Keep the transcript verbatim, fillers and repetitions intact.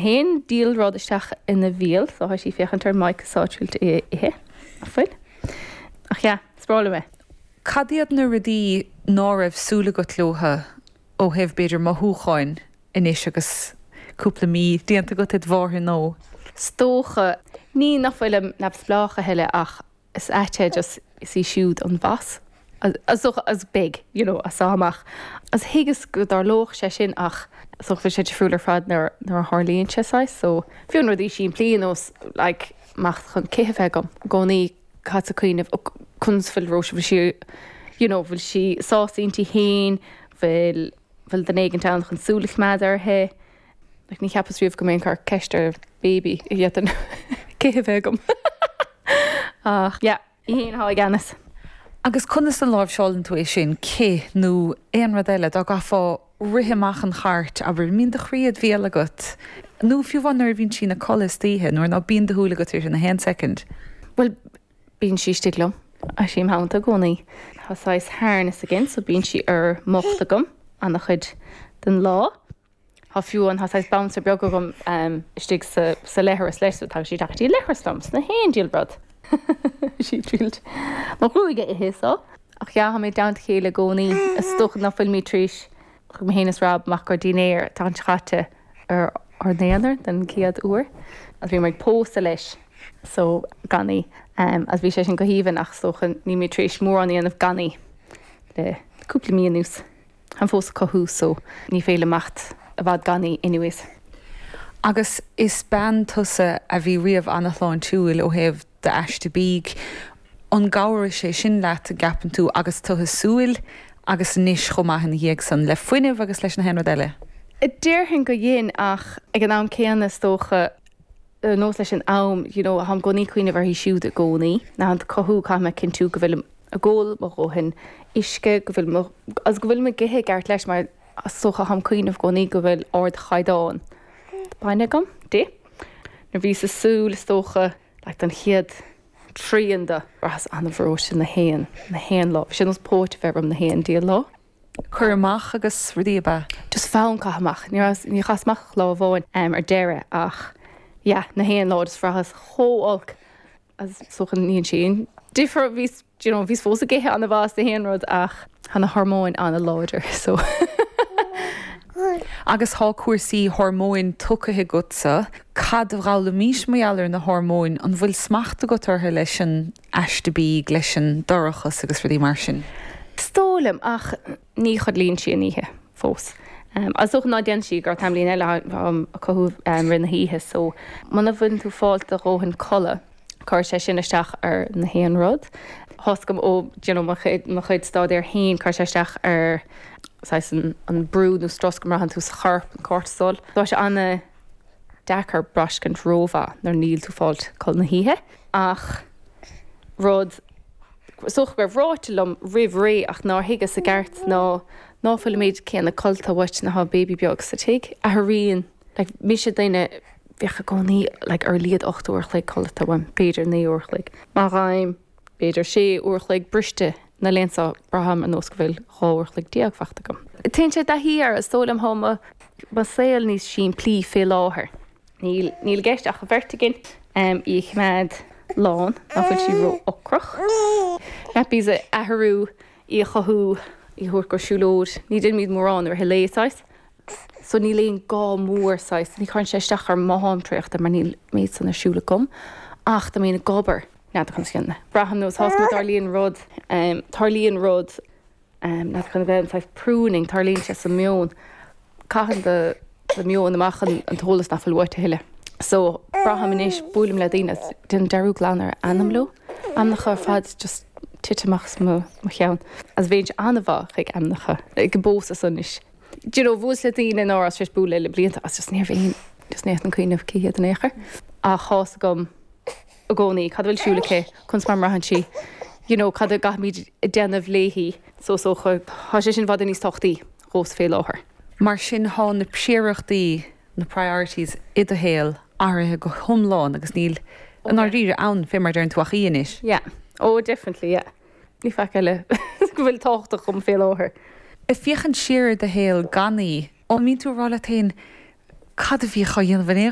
Haon diabhal rud isteach ina bhéal, so tá sí féachaint ar Mike sáitriúilt é ithe fuil. Ach yeah, is breá liom é. Cad iad na rudaí ná raibh súil agat leo ó thaobh b'fhéidir mothúcháin anois agus cúpla mí déanta agat id mháthair nó? Is dócha ní nach bhfuilim neamhspleách a thuilleadh ach is ait just is í siúd an boss. As as big, you know, as amach. As thuigeas go dtarlódh sé sin ach so bhí sé difriúil ar fad nuair nuair a tharlaíonn sé saghas, so fiú an rudaí simplí nós like amach chun cith a bheith agam i gcónaí cad sa cuimhneamh conas bhfuil Róise bhfuil sí you know, bhfuil sí sásta inti féin, bhfuil bhfuil duine éigin ann chun súil a choimeád uirthi. Like, ní cheapas riamh go mbeinn ag cur ceist ar baby a dhéanann cith a bheith agam. Ach yeah, í féin atá i gceannas. Agus conas a láimhseálann tú é sin cith nó aon rud eile dá gcaithfeá rith amach an chairt abair mbíonn do chroí id bhéal agat. Nó fiú amháin nuair a bhíonn sí ina codladh istoíche nuair ná bíonn do shúil agat ar sin a haon second. Well, bíonn sí istigh liom a sí theannta i gcónaí. Tá saghas harness again, so bíonn sí ar m'ucht agam an-chuid den lá. Tá fiú an tá saghas bouncer beag agam um, istigh sa, sa leithreas leis, so tá sí go dtí leithreas liom sna haon diabhal rud. sí trílt. Má chrúige ithe so. Ach yeah mé down chéile gcónaí is dócha nach bhfuil mé tríis chu mé hénas rab amach gur dinnéar tá chaite ar ár n-aonar den chéad uair. As bhí mar pósta leis so gan í um, as bhí sé sin go haoibhinn ach so ní mé tréis mórán a dhéanamh gan í le cúpla mí anuas. Han fós cothú so ní féidir imeacht i bhfad gan í anyways. Agus is bean tusa a bhí riamh an-shláintiúil ó thaobh d'aiste bídh. An gcabhraigh sé sin leat a gceapann tú agus tú súil agus anois chomh maith ina dhiaidh san le fuinneamh agus leis na haon rud eile. Déarfainn go dhein ach ag an am céanna is dócha nós leis an am you know, táim i gcónaí ag cuimhneamh uirthi siúd i gcónaí na an cothú caithfidh mé cinntiú go bhfuil ag ól mo dhóthain uisce go bhfuil as go bhfuil mé ag ithe ceart leis mar is dócha táim ag cuimhneamh i gcónaí go bhfuil ardchaighdeán. Bainne agam di. Nuair bhí sa súil is dócha le an chéad trian de bhraitheas an-bhreoite na haon na haon lá, sin os póit bheith na haon diabhal lá. Cur amach agus rudaí ba. Just fonn caitheamh amach ní ní chas amach lá amháin um, ar deireadh ach yeah, na haon lá is bhraitheas chomh holc as sochan níon sin. Difear bhí you know, bhís fós ag ithe an-mhaith na haon rud ach bhí na hormóin an-láidir so. Agus tá cúrsaí hormóin tugtha agatsa, cad a d'fhoghlaimís mar gheall ar na hormóin an bhfuil smacht agat orthu leis an aiste bídh leis an dorchas agus rudaí mar sin. Is dóigh liom ach ní chodlaíonn sí an oíche fós. Um, as ná déan sí gur tamlín eile um, a cothú um, rin na hoíche, so muna bhfuil tú fáil do dhóthain codladh chuir sé sin isteach ar na haon rud. Hoscam ó you know, mo chuid staidéir féin chuir sé isteach ar an, an brú nó strus go mbraitheann tú sa chorp an cortisol. Tá sé an-deacair braistint rómhaith nuair níl tú fáilt codladh na hoíche ach rud soch go ráite liom roimh ré ach nár thuigeas i gceart ná ná fuil méid céanna codlata uait nuair atá baby beag sa tigh a tharíonn like, mise duine bheadh i gcónaí like, ar a laghad ocht uair chloig codlata uaim b'fhéidir naoi uair chloig. Má ghaim b'fhéidir sé uair chloig briste na léansa braithim ar nós go bhfuil dhá uair chloig déag fachta agam. Téann sé dathí ar is dóigh liom tá mo saol níos simplí fé láthair. Níl níl gceist ach a bheirt againn um, í choimeád lán ná fuil sí ró-ocrach. Nappies a athrú í a chothú í thabhairt go siúlóid, ní déanaimid mórán ar lé saghas. So níl aon gá mór saghas, ní chuireann sé isteach ar m'am traochta mar níl méid san ar siúl agam, ach tá mé ag obair n'fheadar chun na. Braithim nós hás tarlaíonn rud um, tarlaíonn rud um, na chun bheith an pruning tarlaíonn sé sa meon. Caitheann do do meon amach an, an t-eolas nach bhfuil uait a thuilleadh. So braithim anois buailim le daoine den dearúd glan ar ainm leo, Ainmneacha ar fad just tite amach mo mo cheann. As bhéint an-mhaith chuig ainmneacha go bós as anois. Do you know, bhuaileas le daoine ná as sé bualadh le blianta as just níor bhíon just ní an cuimhneamh cé hiad in aon chor. Ach tá a fhios agam i gcónaí cad bhfuil siúl aici conas mar mbraitheann sí. You know, cad a gcaithfimid déanamh léi so so tá sé sin i bhfad níos tábhachtaí dhomsa fé láthair. Mar sin tá na príorachtaí na priorities i do shaol athraithe go hiomlán agus níl an áiríre ann fé mar deireann tú ach í anois. Yeah. Oh, definitely, yeah. Ní faic eile go bhfuil tábhachtach dom fé láthair. Ag féachaint siar do shaol gan í an mbíonn tú ag rá leat féin Cad a bhíodh á dhéanamh in aon